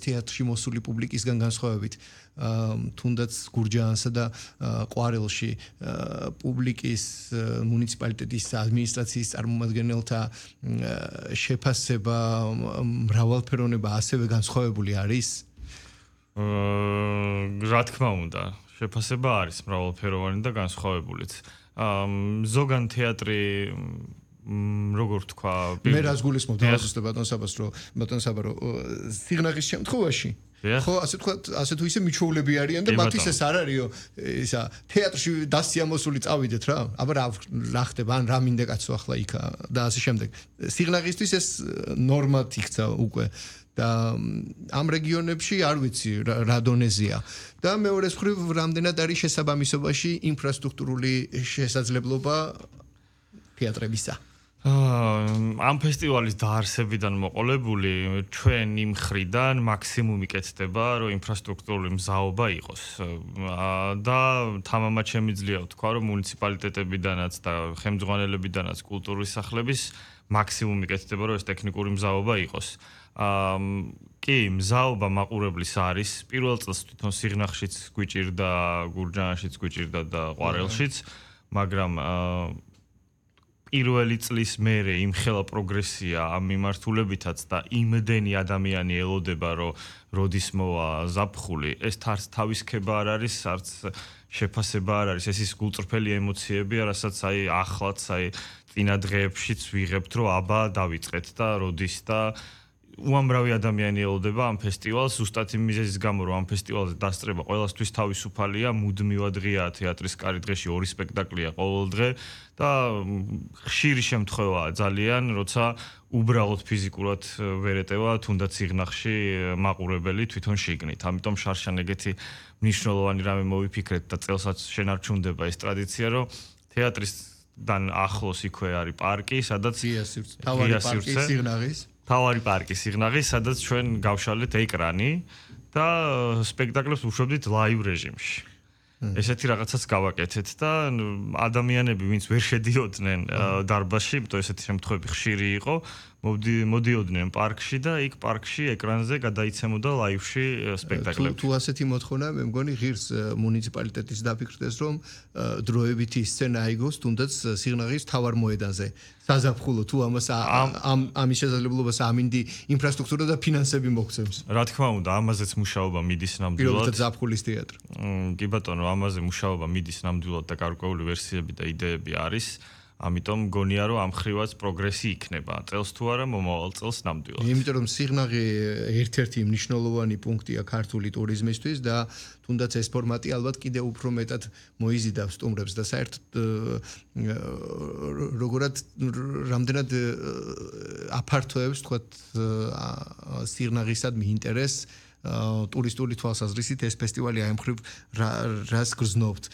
თეატრში მოსული პუბლიკისგან განსხვავებით თუნდაც გურჯაანსა და ყვარელში პუბლიკის მუნიციპალიტეტის ადმინისტრაციის წარმომადგენელთა შეფასება მრავალფეროვნება ასევე განსხვავებული არის? რა თქმა უნდა, შეფასება არის მრავალფეროვანი და განსხვავებულიც. ზოგან თეატრი როგორ თქვა, მე რას გულისხმობ დავაზუსტებ ბატონ საბარო, სიღნაღის შემთხვევაში ხო ასე თუ ისე მიჩვეულები არიან და მათ ისეს არ არისო ისა თეატრში დასიამოსული წავიდეთ რა აბა რა ხდება ან რა მინდა კაცო ახლა იქა და ასე შემდეგ სიღნაღისთვის ეს ნორმად იქცა უკვე და ამ რეგიონებში არ ვიცი რა დონეზეა და მეორეს მხრივ რამდენად არის შესაბამისობაში ინფრასტრუქტურული შესაძლებლობა თეატრებისა ამ ფესტივალის დაარსებიდან მოყოლებული ჩვენ იმ მხრიდან მაქსიმუმი კეთდება რომ ინფრასტრუქტურული მზაობა იყოს და თამამად შემიძლია ვთქვა რომ მუნიციპალიტეტებიდანაც და ხელმძღვანელებიდანაც კულტურის სახლების მაქსიმუმი კეთდება რომ ეს ტექნიკური მზაობა იყოს კი მზაობა მაყურებლის არის პირველ წელს თვითონ სიღნაღშიც გვიჭირდა გურჯაანშიც გვიჭირდა და ყვარელშიც მაგრამ პირველი წლის მერე იმხელა პროგრესია ამ მიმართულებითაც და იმდენი ადამიანი ელოდება რომ როდის მოვა ზაფხული ეს თავის ქება არ არის არც შეფასება არ არის ეს ის გულწრფელი ემოციებია რასაც აი ახლაც აი წინა დღეებშიც ვიღებთ რომ აბა დავიწყეთ და როდის და უამრავი ადამიანი ელოდება ამ ფესტივალს ზუსტად იმ მიზეზის გამო რომ ამ ფესტივალზე დასწრება ყველასთვის თავისუფალია მუდმივად ღიაა თეატრის კარი დღეში 2 სპექტაკლია ყოველ დღე და ხშირი შემთხვევაა ძალიან როცა უბრალოდ ფიზიკურად ვერ ეტევა თუნდაც სიღნაღში მაყურებელი თვითონ შიგნით ამიტომ შარშან ეგეთი მნიშვნელოვანი რამე მოვიფიქრეთ და წელსაც შენარჩუნდება ეს ტრადიცია რომ თეატრისთან ახლოს იქვე არის პარკი სადაც თავარი პარკი სიღნაღის თავარი პარკი სიღნაღის, სადაც ჩვენ გავშალეთ ეკრანი და სპექტაკლებს ვუშვებდით ლაივ რეჟიმში. ესეთი რაღაცას გავაკეთეთ და ადამიანები, ვინც ვერ შედიოდნენ დარბაზში, იმიტომ ესეთი შემთხვევები ხშირი იყო, მოდიოდნენ პარკში და იქ პარკში ეკრანზე გადაიცემოდა ლაივში სპექტაკლები. თუ ასეთი მოთხოვნა, მე მგონი ღირს მუნიციპალიტეტის დაფიქრდეს, რომ დროებითი სცენა აიგოს თუნდაც სიღნაღის თავარ მოედანზე. საზაფხულო თუ ამის შესაძლებლობას ამინდი ინფრასტრუქტურა და ფინანსები მოგცემს. რა თქმა უნდა, ამაზეც მუშაობა მიდის ნამდვილად. პირველად ზაფხულის თეატრი. კი ბატონო, ამაზე მუშაობა მიდის ნამდვილად და გარკვეული ვერსიები და იდეები არის. ამიტომ მგონია რომ ამ ხრივაც პროგრესი იქნება. წელს თუ არა, მომავალ წელს ნამდვილად. იმიტომ რომ სიღნაღი ერთ-ერთი მნიშვნელოვანი პუნქტია ქართული ტურიზმისთვის და თუნდაც ეს ფორმატი ალბათ კიდევ უფრო მეტად მოიზიდავს სტუმრებს და საერთოდ როგორად რამდენად აფართოებს თქვათ სიღნაღისადმი ინტერესს ტურისტული თვალსაზრისით ეს ფესტივალი აი მხრივ რას გრძნობთ?